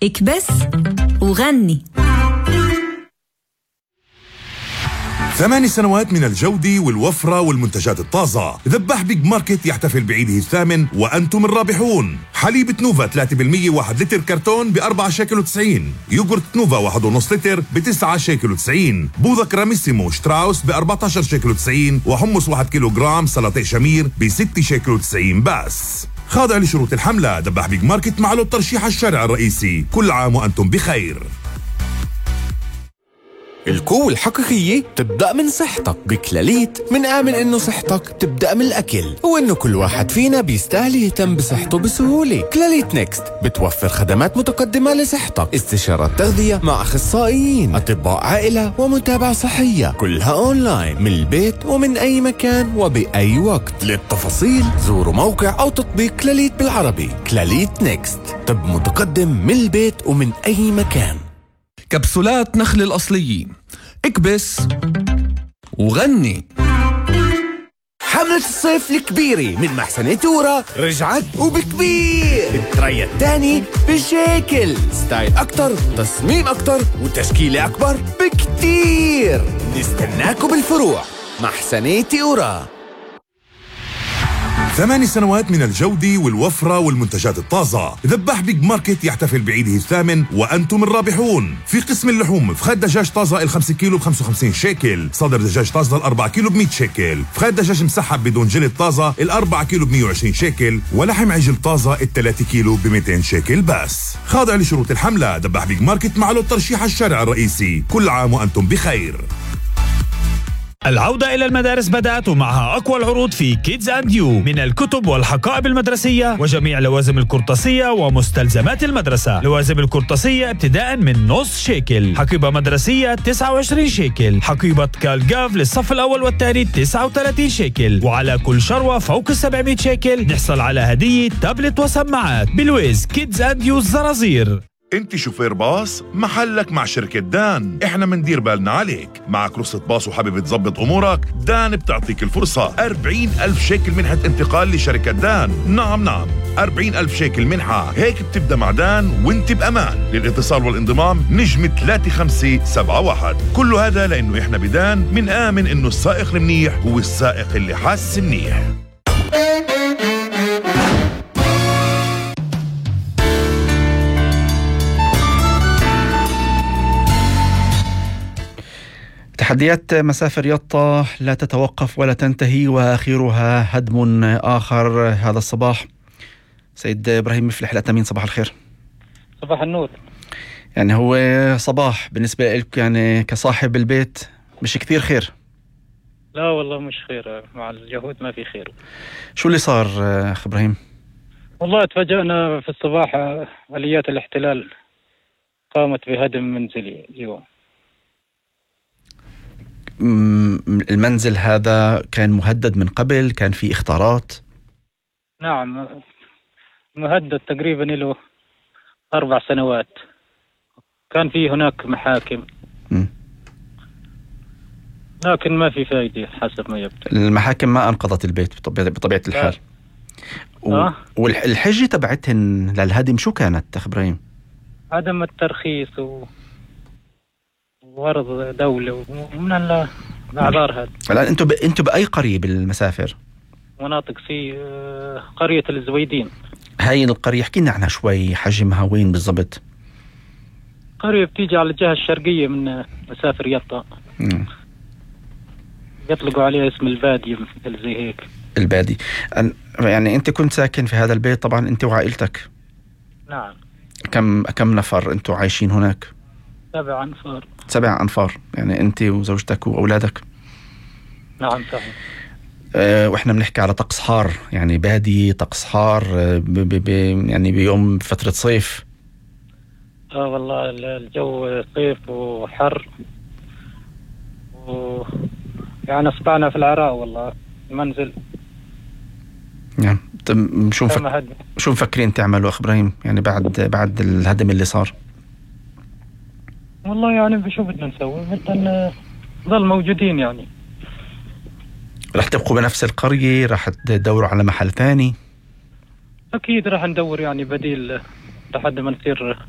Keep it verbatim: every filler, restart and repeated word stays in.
اكبس وغني. ثماني سنوات من الجودة والوفرة والمنتجات الطازة. ذباح بيج ماركت يحتفل بعيده الثامن وأنتم الرابحون. حليب نوفا ثلاثة بالمية واحد لتر كرتون بأربعة شيكل وتسعين. يوغورت نوفا واحد ونص لتر بتسعة شيكل وتسعين. بوظة كراميسيمو شتراوس بأربعتاشر شيكل وتسعين. وحمص واحد كيلو جرام سلطة شمير بستة شيكل وتسعين بس. خاضع لشروط الحملة. ذباح بيج ماركت معه الترشيح الشارع الرئيسي. كل عام وأنتم بخير. القوة الحقيقية تبدأ من صحتك. بكلاليت من آمن إنه صحتك تبدأ من الأكل، وإنه كل واحد فينا بيستاهل يهتم بصحته بسهولة. كلاليت نيكست بتوفر خدمات متقدمة لصحتك، استشارات تغذية مع أخصائيين، أطباء عائلة ومتابعة صحية، كلها أونلاين من البيت ومن أي مكان وبأي وقت. للتفاصيل زوروا موقع أو تطبيق كلاليت بالعربي. كلاليت نيكست، طب متقدم من البيت ومن أي مكان. كبسولات نخل الأصليين، اكبس وغني. حملة الصيف الكبيرة من محسن تورا رجعت وبكبير. التريا الثاني بشكل ستايل أكتر، تصميم أكتر، وتشكيلة أكبر بكتير. نستناكم بالفروع. محسن تورا. ثماني سنوات من الجودة والوفرة والمنتجات الطازة. ذباح بيج ماركت يحتفل بعيده الثامن وأنتم الرابحون. في قسم اللحوم فخاد دجاج طازة الخمسة كيلو بخمسة وخمسين شيكل، صدر دجاج طازة الأربعة كيلو بمية شيكل، فخاد دجاج مسحب بدون جلد طازة الأربعة كيلو بمية وعشرين شيكل، ولحم عجل طازة الثلاثة كيلو بميتين شيكل بس. خاضع لشروط الحملة. ذباح بيج ماركت معه الترشيح الشارع الرئيسي. كل عام وأنتم بخير. العودة إلى المدارس بدأت، ومعها أقوى العروض في كيدز أند يو من الكتب والحقائب المدرسية وجميع لوازم القرطاسية ومستلزمات المدرسة. لوازم القرطاسية ابتداء من نص شيكل، حقيبة مدرسية تسعة وعشرين شيكل، حقيبة كالجاف للصف الأول والثاني تسعة وثلاثين شيكل، وعلى كل شروة فوق السبعمية شيكل نحصل على هدية تابلت وسماعات. بلويز كيدز أند يو الزرازير. انت شوفير باص محلك مع شركة دان. احنا مندير بالنا عليك. معك رخصة باص وحابب تظبط امورك؟ دان بتعطيك الفرصة. أربعين ألف شيكل منحة انتقال لشركة دان. نعم نعم أربعين ألف شيكل منحة. هيك بتبدأ مع دان وانت بأمان. للاتصال والانضمام نجم ثلاثة خمسة سبعة واحد. كل هذا لأنه احنا بدان من آمن انه السائق المنيح هو السائق اللي حاس منيح. تحديات مسافر يطا لا تتوقف ولا تنتهي، وآخرها هدم آخر هذا الصباح. سيد إبراهيم مفلح الأتمين، صباح الخير. صباح النور. يعني هو صباح بالنسبة لك يعني كصاحب البيت مش كثير خير؟ لا والله مش خير، مع اليهود ما في خير. شو اللي صار أخ إبراهيم؟ والله تفاجأنا في الصباح، آليات الاحتلال قامت بهدم منزلي اليوم. المنزل هذا كان مهدد من قبل؟ كان في اختارات؟ نعم مهدد تقريبا له أربع سنوات. كان في هناك محاكم م. لكن ما في فائدة حسب ما يبدو. المحاكم ما أنقذت البيت بطبيعة الحال. و... أه؟ والحجة تبعتهن للهدم شو كانت أخ إبراهيم؟ عدم الترخيص و... ورض دولة ومن الأعذار هذا. الآن أنتم ب... أنتم بأي قرية بالمسافر؟ مناطق في قرية الزويدين. هاي القرية احكي لنا عنها شوي، حجمها وين بالضبط؟ قرية بتيجي على الجهة الشرقية من مسافر يطا. م. يطلقوا عليها اسم البادية مثل زي هيك. البادي. يعني أنت كنت ساكن في هذا البيت طبعا أنت وعائلتك؟ نعم. كم كم نفر أنتوا عايشين هناك؟ سبع أنفار. سبع أنفار يعني أنت وزوجتك وأولادك؟ نعم صحيح. أه وإحنا بنحكي على طقس حار، يعني بادي طقس حار ب ب ب يعني بيوم فترة صيف. آه والله الجو صيف وحر و يعني أصبحنا في العراء والله المنزل. نعم. طيب شو مفك... شو مفكرين تعملوا أخ إبراهيم يعني بعد بعد الهدم اللي صار؟ والله يعني بشو بدنا نسوي؟ بدنا نظل موجودين يعني. رح تبقوا بنفس القرية؟ رح تدوروا على محل ثاني؟ أكيد رح ندور يعني بديل لحد ما نصير